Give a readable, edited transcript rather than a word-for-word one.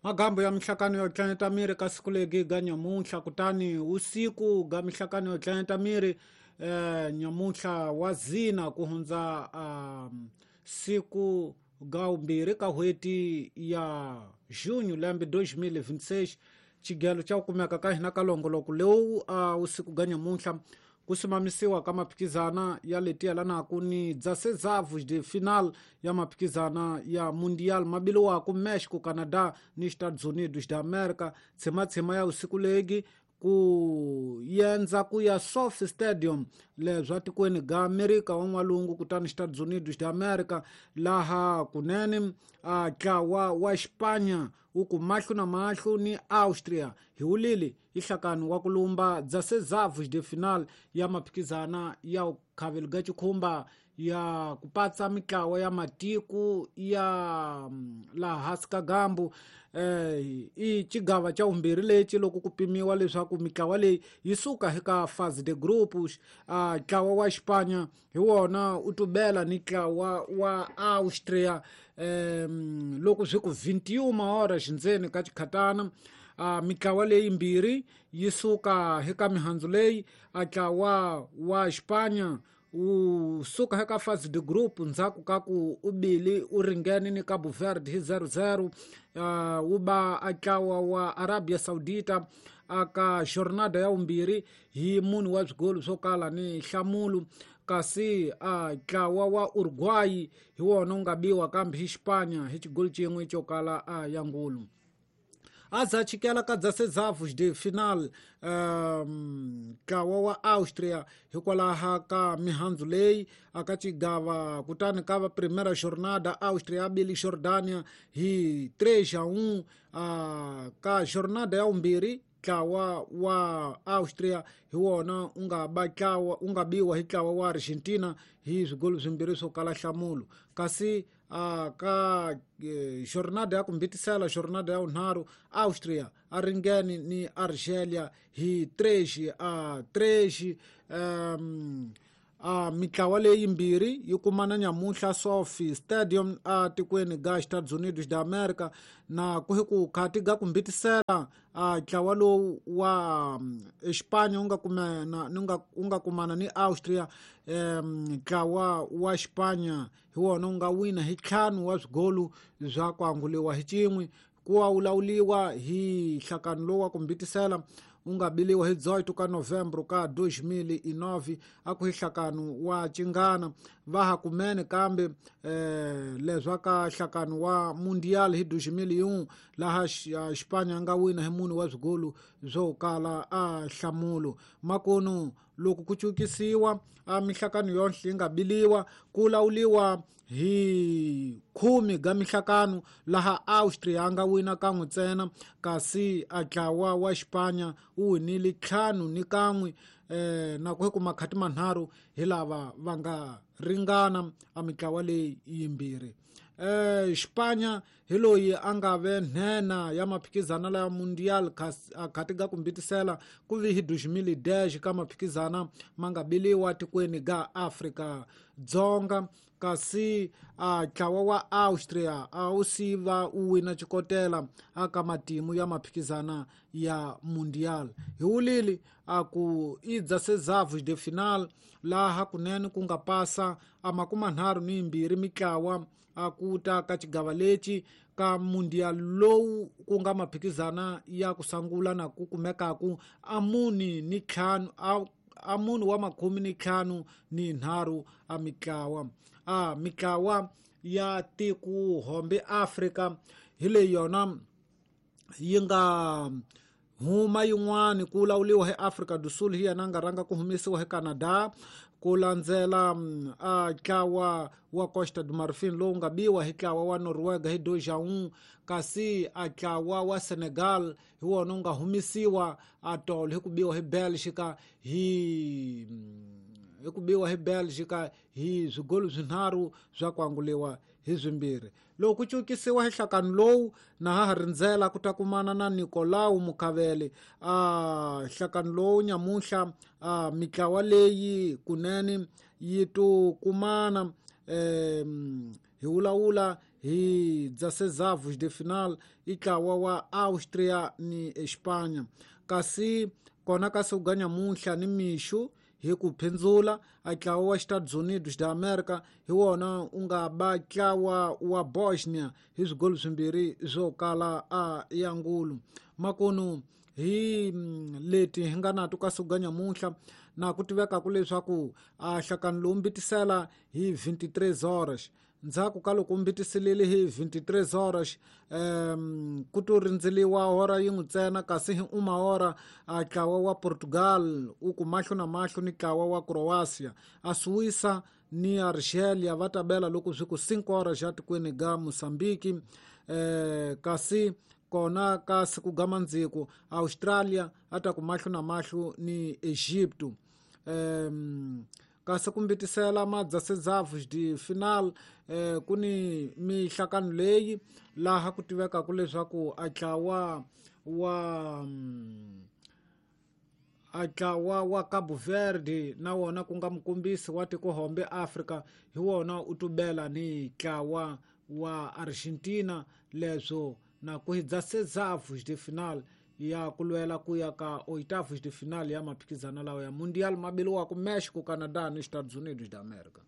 Magambo ya mihlakano yo tlanyeta miri ka siku legi ga nyamuntlha kutani usiku ga mihlakano yo tlanyeta miri nyamuntlha wa zina ku hundza siku ga umbirhi ka n'hweti ya junho lembe 2026 xigelo xa ku kumeka ka hina ka longoloko lowu usiku ga nyamuntlha ku simamisiwa ka maphikizana ya leti yelanaka ni 16 de final ya maphikizana ya mundial mabiliwaku Mexico, Canada ni Estados Unidos da América. Tshimatshima ya usiku legi ku yendza ku ya SoFi Stadium leswa tikweni ga Amerika wa n'walungu kutani Estados Unidos da America laha kunene ntlawa wa Xipanya wu ku mahlo na mahlo ni Austria hi wulili i nhlakano wa ku lumba 16 de final ya maphikizana ya khavelo ga xikhumba ya ku patsa mitlawa ya matiko ya laha hansi ka gambu i xigava xa vumbirhi lexi loko ku pimiwa leswaku mitlawa leyi yi suka eka phase de groups. Ntlawa wa Xipanya hi wona u tubela ni ntlawa wa Austria loko swi ku 21 horas ndzeni ka xikhatana. Mitlawa leyi mbirhi yi suka eka mihandzu leyi. Ntlawa wa Xipanya wu suka eka phase de group ndzhaku ka ku u bili u ringene ni Cabo Verde hi 0-0, wu ba ntlawa wa Arabia Saudita aka jornada ya vumbirhi hi munhu wa swigolo swo kala ni nhlamulo. Kasi ntlawa wa Uruguay hi wona wu nga biwa kambe hi Xipanya hi xigolo xin'we xo kala ya ngulu. Aza chikela ka 16 de final ntlawa wa Austria hikwalaho ka mihandzu leyi aka xigava kutani ka va primera jornada Austria bili Jordania hi 3-1. Ka jornada ya vumbirhi ntlawa wa Austria hi wona u nga ba ntlawa u nga biwa hi ntlawa wa Argentina hi swigolo swimbirhi swo kala nhlamulo. Kasi ka jornada ya ku mbitisela jornada ya vunharhu Austria a ringene ni Argelia hi 3-3. Mitlawa leyi mbirhi yi kumana nyamuntlha SoFi Stadium atikweni ga Estados Unidos da America na ku hi ku khati ga ku mbitisela ntlawa lowu wa Xipanya wu nga kumana wu nga kumana ni Austria. Ntlawa wa Xipanya hi wona wu nga wina hi 5 wa swigolo swa ku anguliwa hi xin'we ku wa wulawuliwa hi nhlakano lowu wa ku mbitisela wu nga biliwa hi 18 ka Novembro ka 2009 a ku hi nhlakano wa Cingana va ha kumene kambe leswa ka nhlakano wa Mundial hi 2001 laha Xipanya nga wina hi munhu wa swigolo swo kala a nhlamulo. Makunu loko ku cukisiwa mihlakano yonhle yi nga biliwa ku lawuliwa hi 10 ga mihlakano laha Austria a nga wina kan'we ntsena kasi ntlawa wa Xipanya wu winile 5 ni kan'we na ku hi ku makhati manharhu hi lava va nga ringana a mitlawa leyi yimbirhi. Xipanya hi loyi a nga ve nhenha ya maphikizana laya mundial khati ga ku mbitisela ku vi hi 2010 ka maphikizana ma nga biliwa tikweni ga Afrika Dzonga. Kasi ntlawa wa Austria a wu siva u wina xikotela aka matimu ya maphikizana ya mundial. Hi wulili a ku i 16 de final laha kunene ku nga pasa a 32 mitlawa a ku ta ka xigava lexi ka mundial lowu ku nga maphikizana ya ku sangula na ku kumekaku a muni ni ntlhanu a munhu wa 53 a mitlawa. Mitlawa ya tiku hombe Afrika hi leyi yona yi nga huma yin'wani ku lawuliwa hi Afrika do Sul hi yena nga rhanga ku humesiwa hi Canada ku landzela ntlawa wa Costa do Marfin lowu nga biwa hi ntlawa wa Noruega hi 2-1 kasi ntlawa wa Senegal hi wona wu nga humesiwa atolo hi ku biwa hi Belgica hi ku biwa hi Belgica hi swigolo swinharhu swa ku anguliwa hi swimbirhi. Loko ku cukisiwa hi nhlakano lowu na ha ha rindzela ku ta kumana na Nicolau Mukhavele. Nhlakano lowu nyamuntlha mitlawa leyi kunene yi to kumana hi wulawula Hi 16avos de final i ntlawa wa Austria ni Espanya. Kasi kona ka siku ga nyamuntlha ni mixo hi ku phindzula, a ntlawa wa Estados Unidos da America hi wona u nga ba ntlawa wa Bosnia hi swigolo swimbirhi swo kala a ya ngulu. Makunu hi leti hi nga nato ka siku ga nyamuntlha, na ku tivekaku leswaku a hlakano lowu mbitisela hi 23 horas. Ndzhaku ka loko mbitiselele hi 23 horas, ku to rindzeliwa hora yin'we ntsena, kasi hi uma hora a ntlawa wa Portugal u ku mahlo na mahlo ni ntlawa wa Croatia. A Suíça ni Argelia va ta bela loko swi ku 5 horas ya tikweni ga Mozambique. Kasi kona ka siku ga mandziko Australia a ta ku mahlo na mahlo ni Egipto. Kasi ku mbitisela ma 16avos de final, ku ni mihlakano leyi laha ku tivekaka leswaku a ntlawa wa Cabo Verde na wona ku nga mukombisi wa tikohombe Afrika hi wona u tubela ni ntlawa wa Argentina. Leswo na ku hi 16avos de final ya ku lwela ku ya ka oitavos de final ya maphikizano lawa ya Mundial mabeliwaka Mexico, Canada ni Estados Unidos da America.